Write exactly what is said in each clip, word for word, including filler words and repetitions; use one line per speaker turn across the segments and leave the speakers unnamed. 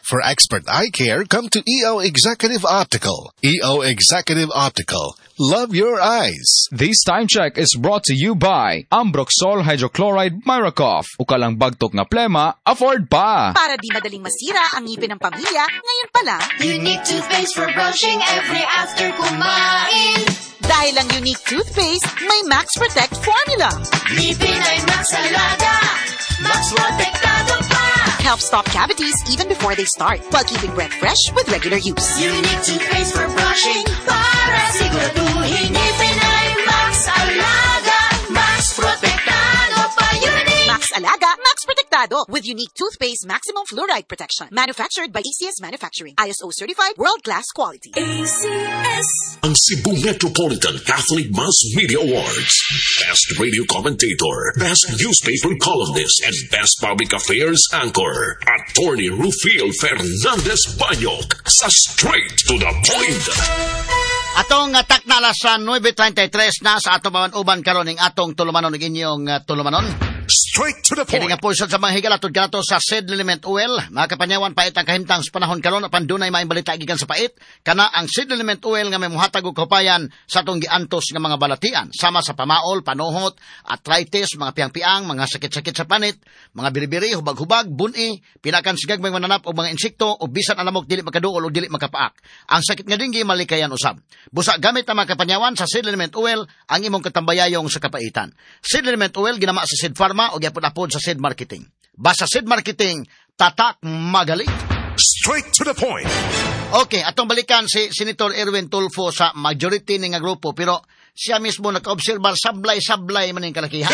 For expert eye care, come to E O Executive Optical. E O Executive Optical. Love your eyes.
This time check is brought to you by Ambroxol Hydrochloride Miracoff. Ukalang bagtok nga plema, afford pa!
Para di madaling masira ang ngipin ng pamilya, ngayon pa lang,
Unique toothpaste for brushing every after kumain.
Dahil ang Unique toothpaste, may Max Protect formula.
Ngipin ay Max Alaga, Max Protektado pa.
Helps stop cavities even before they start, while keeping breath fresh with regular use.
Unique toothpaste for brushing para siguraduhin ngipin ay Max Alaga, Max Protektado pa. Unique!
Max Alaga, Max Protektado with Unique Toothpaste Maximum Fluoride Protection. Manufactured by A C S Manufacturing. I S O certified world-class quality.
A C S.
Ang Cebu Metropolitan Catholic Mass Media Awards. Best Radio Commentator, Best Newspaper Columnist, and Best Public Affairs Anchor. Attorney Rufil Fernandez Banyok sa Straight to the Point.
Atong takna alas nuwebe trentay tres na sa atong uban karon ning atong tulumanon ug inyong uh, tulumanon.
Straight to the
Kini
Point.
nga pulsod sa mga higala tud kanato sa Seed Liniment Oil. Mga kapanyawan, pait ang kahimtang sa panahon karon apan dunay maayong balita gikan sa pait. Kana ang Seed Liniment Oil nga may muhatag og kahupayan sa atong giantos nga mga balatian sama sa pamaol, panuhot, arthritis, mga piang-piang, mga sakit-sakit sa panit, mga biribiri, hubag-hubag, buni, pinakan sa gagmay mananap og mga insekto o bisan ang lamok dili makaduol o dili makapaak. Ang sakit nga dinggi malikayan usab. Busa gamit ang mga kapanyawan sa Seed Liniment Oil ang imong katambayayong sa kapaitan. Seed Liniment Oil ginama sa Seed Pharma o gyapon apod sa Seed Marketing. Basta Seed Marketing, tatak magaling.
Straight to the Point.
Okay, atong balikan si Senator Erwin Tulfo sa majority ni nga grupo, pero siya mismo naka-obserbar sablay-sablay man ning kalakihan.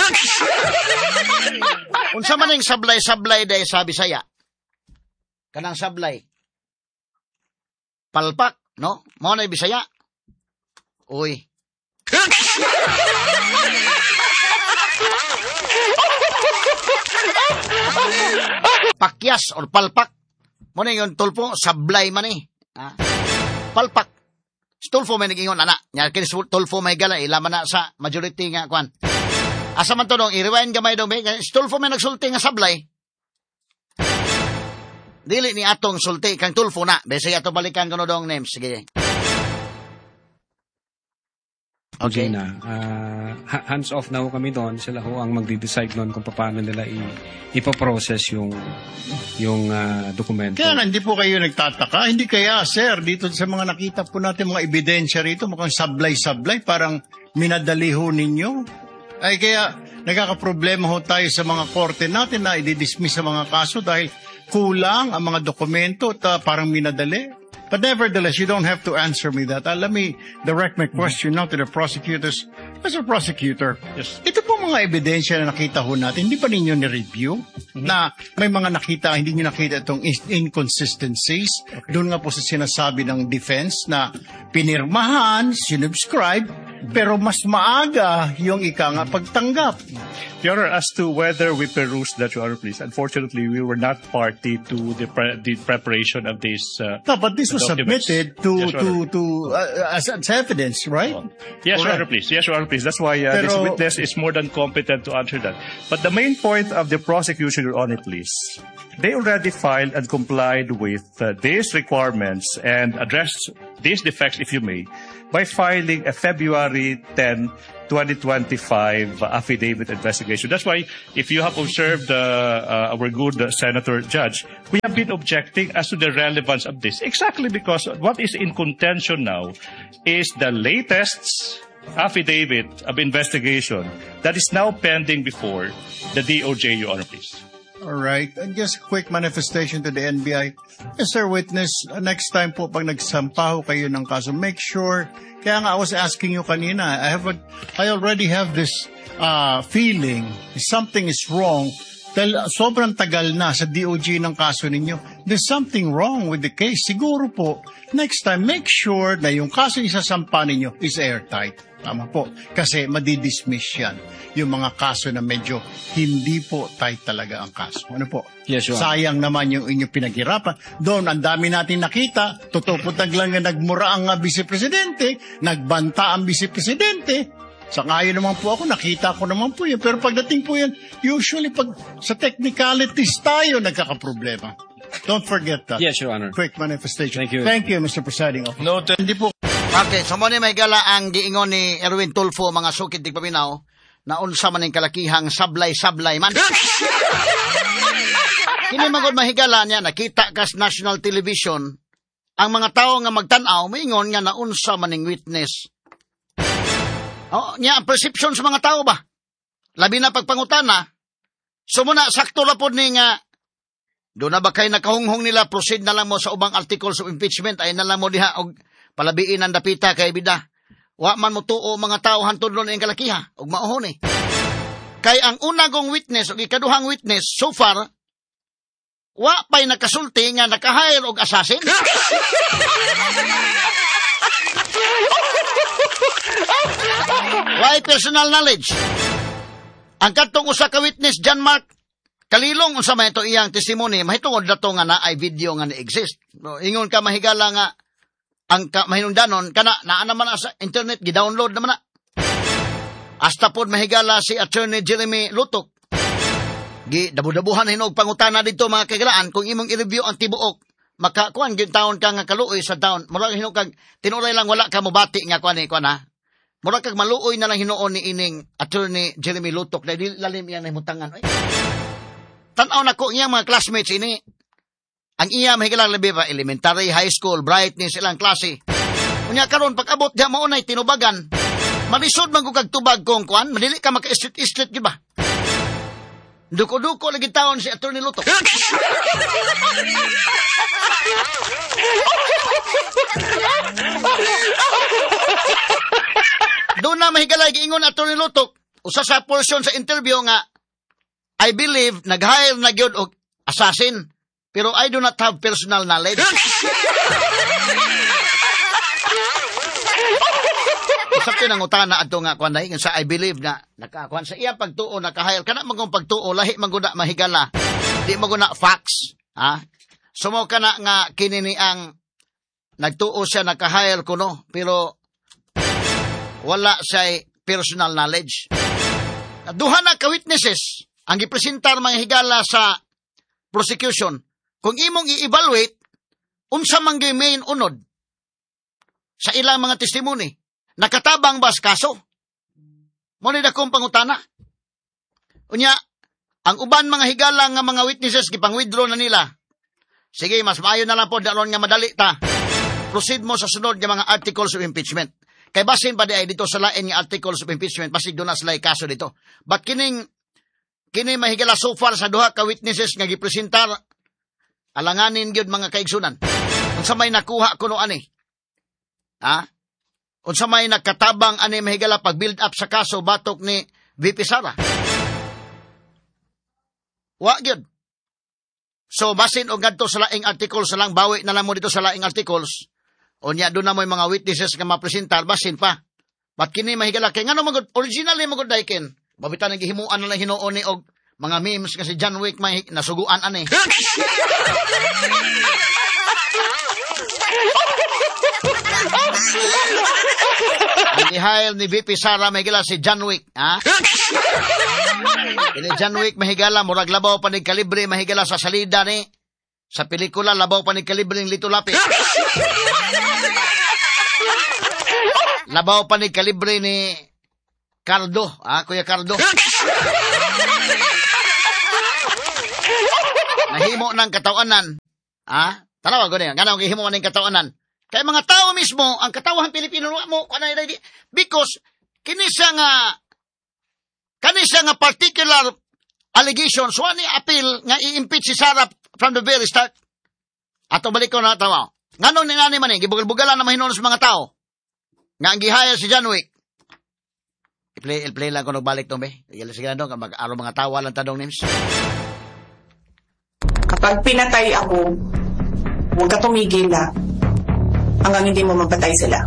Unsa man ning sablay-sablay day sa Bisaya? Kanang sablay. Palpak, no? Mao na Bisaya. Uy. Pakyas or palpak. Mo na yung Tulfo, sablay man eh. Ah. Palpak. Si Tulfo may nag-ingon, ana. Nya kini si Tulfo may gala, ilaman na sa majority nga kwan. Asa man to dong, i-rewind gamay dong, si Tulfo may nagsulti nga sablay. Dili ni atong sulti kang Tulfo na. Besi ato balikan kuno dong names. Sige.
Okay. Gina, ah, ha- hands off na ho kami doon. Sila ho ang magde-decide noon kung paano nila i- ipoprocess yung yung ah, dokumento.
Kaya nga, hindi po kayo nagtataka. Hindi kaya, sir, dito sa mga nakita po natin mga ebidensya rito, mukhang sablay-sablay, parang minadali ho ninyo. Ay kaya, nagkakaproblema ho tayo sa mga korte natin na i-dismiss sa mga kaso dahil kulang ang mga dokumento at ah, parang minadali. But nevertheless, you don't have to answer me that. Uh, let me direct my question now to the prosecutors. Mister Prosecutor,
Yes.
ito po mga ebidensya na nakita ho natin, hindi pa ninyo ni-review na may mga nakita, hindi nyo nakita itong in- inconsistencies? Doon nga po sa sinasabi ng defense na pinirmahan, sinubscribe, pero mas maaga yung ika nga pagtanggap.
Your Honor, as to whether we perused that, Your Honor, please, unfortunately, we were not party to the, pre- the preparation of this. Uh,
No, but this was
documents.
submitted to
Yes, Your
to
Honor.
to uh, as, as evidence, right?
Yes, Your
Correct.
Honor, please. Yes, Your Honor, please. That's why uh, this
Pero-
witness is more than competent to answer that. But the main point of the prosecution, Your Honor, please, they already filed and complied with uh, these requirements and addressed these defects, if you may, by filing a February tenth, twenty twenty-five affidavit investigation. That's why if you have observed uh, uh, our good uh, Senator Judge, we have been objecting as to the relevance of this. Exactly because what is in contention now is the latest affidavit of investigation that is now pending before the D O J, Your Honor, please.
All right. And just a quick manifestation to the N B I. Mister Witness, uh, next time po pag nagsampa ho kayo ng kaso, make sure, kaya nga I was asking you kanina, I have a, I already have this uh, feeling something is wrong dahil sobrang tagal na sa D O J ng kaso ninyo. There's something wrong with the case. Siguro po, next time, make sure na yung kaso isasampa ninyo is airtight. Tama po. Kasi madidismiss yan. Yung mga kaso na medyo hindi po tight talaga ang kaso. Ano po?
Yes, Your Honor.
Sayang naman yung inyong pinaghirapan. Doon, ang dami natin nakita. Totoo po lang na nagmura ang uh, vice-presidente, nagbanta ang vice-presidente. Sa ngayon naman po ako, nakita ko naman po yun. Pero pagdating po yan, usually pag sa technicalities tayo nagkakaproblema. Don't forget that.
Yes, Your Honor.
Quick manifestation.
Thank you.
Thank you, Mister Presiding Officer.
Noted.
Hindi po
Okay, so mo ni may gala ang giingon ni Erwin Tulfo, mga sukid tigpaminaw, na unsa man ning kalakihang sablay-sablay man. Kini magod mahigala niya, nakita kas national television, ang mga tao nga magtan-aw, moingon nga naunsa man ning witness. Oh, niya ang perception sa mga tao ba? Labi na pagpangutana. So muna, sakto la pod ni nga, doon na ba kay nakahunghong nila, proceed na lang mo sa ubang articles of impeachment, ay na lang mo diha, og palabiin ang dapita kay bida. Wa man mo tuo mga tao hantod ron ang kalakiha, og mauhon eh. Kay ang una kong witness, o ikaduhang witness, so far, wa pa'y nakasulti nga nakahire og assassin. Why personal knowledge? Ang katong usa ka witness, John Mark Kalilong, unsa man ito iyang testimony, mahitungod na to nga naay video nga ni-exist. No, ingon ka mahigala nga ang ka, mahinungdanon, kana naa naman na sa internet, gi-download naman na. Hasta pod mahigala si Attorney Jeremy Lutok. Gi dabu-dabuhan hinog pangutana dito mga kagalaan, kung imong i-review ang tibuok, makakuan gyud taon ka nga kaluoy sa taon. Murag hinog kag tinuray lang wala ka mobati nga kuan ni kuan ha. Murag kag maluoy na lang hinuon ni ining Attorney Jeremy Lutok dahil dili lalim iyang nahimutangan. Oy. Tan-aw nako iyang mga classmates ini. Ang iya mahigala labi pa elementary, high school, brightness ilang klase. Unya karon pag-abot diha mao nay tinubagan. Malisod man ko kag tubag kung kuan, madili ka maka-islit-islit gyud ba? Duko-duko lagi taon si Attorney Lutok. Doon na mahigala giingon Attorney Lutok, usa sa portion sa interview nga I believe nag-hire na gyud og assassin, pero I do not have personal knowledge. Sa pinangutana adto nga kuan dai sa I believe na nakakuan sa iya pagtuo naka-hire kana man kung pagtuo lahi man gud na mahigala. Di man gud na facts, ha? Sumo kana nga kini ni ang nagtuo siya naka-hire kuno pero wala siya personal knowledge. Duha na ka witnesses ang gipresentar mga higala sa prosecution. Kung imong i-evaluate unsa man gyud main unod sa ilang mga testimony, nakatabang ba sa kaso? Mo ni dakong pangutana. Unya, ang uban mga higala nga mga witnesses gipang-withdraw na nila. Sige, mas maayo na lang po daron nga madali ta. Proceed mo sa sunod nga mga articles of impeachment. Kay basin pa di ay dito sa lain nga articles of impeachment, basig doon na sila kaso dito. But kining kini mahigala so far sa duha ka witnesses nga gipresentar, alanganin gyud mga kaigsunan. Unsa may nakuha kuno ani? Ha? Unsa may nakatabang ani mahigala pag build up sa kaso batok ni V P Sara? Wa gyud. So basin og ngadto sa laing articles lang, bawi na lang mo dito sa laing articles. Unya doon na mo mga witnesses nga mapresentar basin pa. But kini mahigala kay ngano magud originally magud daiken. Babitan ang gihimuan na lang hinuon ni og mga memes kasi John Wick may nasuguan ani. Ang i-hire ni V P Sara mahigala si John Wick, ha? Kini John Wick mahigala murag labaw pa ni kalibre mahigala sa salida ni sa pelikula labaw pa ni kalibre ng Lito Lapid. Labaw pa ni kalibre ni Cardo, ah, Kuya Cardo. Nahimo ng katawanan. Ah, tanawa ko niya. Ganang gihimo ng katawanan. Kay mga tao mismo, ang katawahan Pilipino mo kanay because kini siya nga kani siya nga particular allegations wa ni appeal nga i-impeach si Sara from the very start. Ato balik ko na tawa. Nganong ni ngani man eh, gibugal-bugalan na mahinuon sa mga tao. Nga ang gihire si John Wick. I-play, i-play lang kung nagbalik tong be. Sige lang dong, mag-araw mga tawa lang tanong names.
Kapag pinatay ako, huwag ka tumigil na hanggang hindi mo mapatay sila.